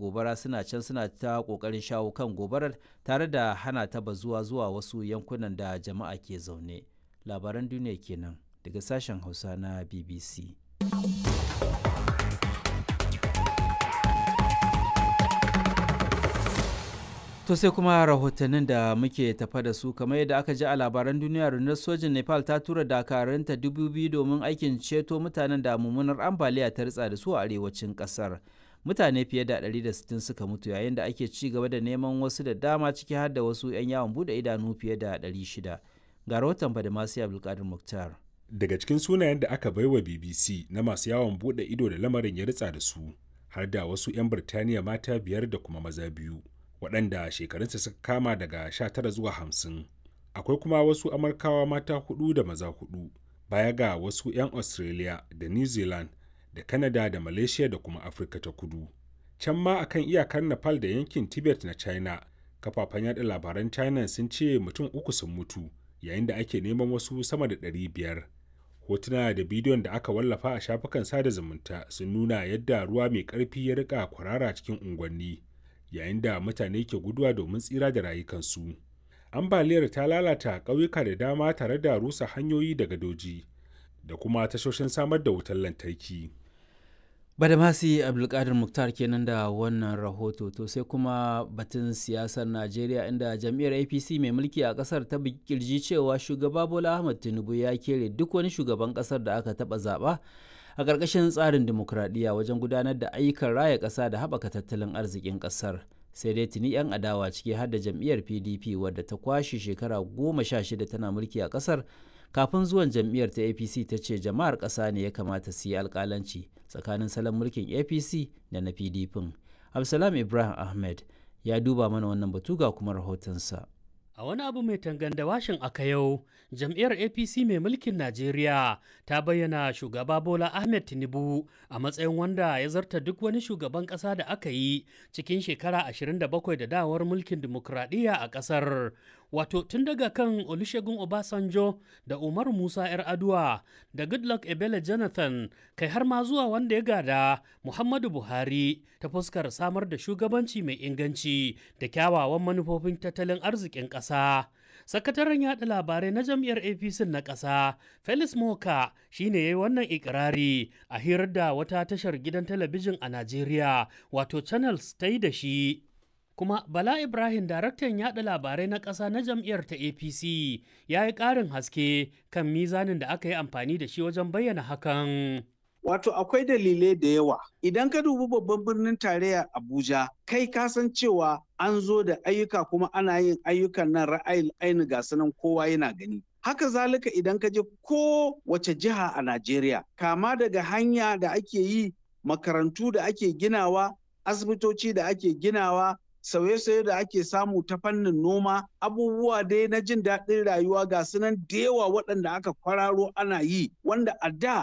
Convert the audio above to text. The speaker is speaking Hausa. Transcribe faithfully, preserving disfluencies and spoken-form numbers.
gobara suna can suna ta ƙoƙarin shawo kan gobarar tare da hana ta bazuwa zuwa wasu yankunan da jama'a ke zaune. Labaran duniya kenan daga sashen Hausa na B B C. To sai kuma rahotannin da muke tafa da su. Kamar yadda aka ji a labaran duniya, rundunar sojin Nepal ta tura dakarunta dubu biyu domin aikin ceto mutanen da mummunar ambaliya ta ritsa da su a arewacin kasar. Mutane fiye da ɗari da sittin suka mutu yayin da ake ci gaba da neman wasu da dama, ciki har da wasu 'yan yawon bude idanu fiye da ɗari shida. Ga rahoton Badamasi Abdulkadir Muktar. Daga cikin sunayen da aka baiwa B B C na masu yawon bude ido da lamarin ya ritsa da su, har da wasu 'yan Birtaniya mata biyar da kuma maza biyu, waɗanda shekarunsa suka kama daga sha tara zuwa hamsin. Akwai kuma wasu Amurkawa mata hudu da maza hudu, baya ga wasu 'yan Australia da New Zealand da Canada da Malaysia da kuma Afirka ta Kudu. Can ma akan iyakar Nepal da yankin Tibet na China, kafafen yada labaran China sun ce mutum uku sun mutu yayin da ake neman wasu sama da ɗari biyar. Hotuna da bidiyon da aka wallafa a shafukan sada zumunta sun nuna yadda ruwa mai ƙarfi ya rika kwarara cikin unguwanni, yayin da mutane ke guduwa domin tsira da rayukansu. Ambaliyar ta lalata ƙauyuka da dama tare da rusa hanyoyi da gadoji da kuma tashoshin samar da wutar lantarki. Badamasi Abdulkadir Muktar kenan da wannan rahoto. To sai kuma batun siyasar Najeriya, inda jam'iyyar A P C mai mulki a kasar ta kirji cewa shugaba Bola Ahmed Tinubu ya kere duk wani shugaban kasar da aka taba zaba a ƙarƙashin tsarin dimokuraɗiyya wajen gudanar da ayyukan raya ƙasa da haɓaka tattalin arzikin ƙasar. Sai dai tuni 'yan adawa, ciki har da jam'iyyar P D P wadda ta kwashe shekara goma sha shida tana mulki a ƙasar kafin zuwan jam'iyyar ta A P C, ta ce jama'ar ƙasa ne ya kamata su yi alƙalanci tsakanin salon mulkin A P C da na P D P. Abdulsalam Ibrahim Ahmed ya duba mana wannan batu, ga kuma rahotonsa. A wani abu mai tanganda washin aka yau, jam'iyyar A P C mai mulkin Najeriya ta bayyana shugaba Bola Ahmed Tinubu a matsayin wanda ya zarta duk wani shugaban ƙasa da aka yi cikin shekara ashirin da bakwai da dawar mulkin dimokuraɗiyya a ƙasar. Wato tun daga kan Olusegun Obasanjo da Umar Musa 'Yar'aduwa da Goodluck Ebele Jonathan, kai har ma zuwa wanda ya gada Muhammadu Buhari, ta fuskar samar da shugabanci mai inganci da kyawawan manufofin tattalin arzikin ƙasa. Sakataren yaɗa labarai na jam'iyyar A P C na ƙasa, Felix Moka, shine ya yi wannan ikirari a hirar da wata tashar gidan talabijin a Najeriya, wato Channels, ta yi da shi. Kuma Bala Ibrahim, daraktan yaɗa labarai na ƙasa na jam'iyyar ta A P C, ya yi ƙarin haske kan mizanin da aka yi amfani da shi wajen bayyana hakan. Wato akwai dalilai da yawa. Idan ka dubi babban birnin tarayya Abuja, kai ka san cewa an zo da ayyuka kuma ana yin ayyukan nan ra'ayin aini, ga sunan kowa yana gani. Haka zalika idan ka je ko wace jiha a Najeriya, kama daga hanya da ake yi, makarantu da ake ginawa, asibitoci da ake ginawa, sauye-sauye da ake samu ta fannin noma, abubuwa dai na jin daɗin rayuwa ga sunan da yawa waɗanda aka kwararo ana yi, wanda a da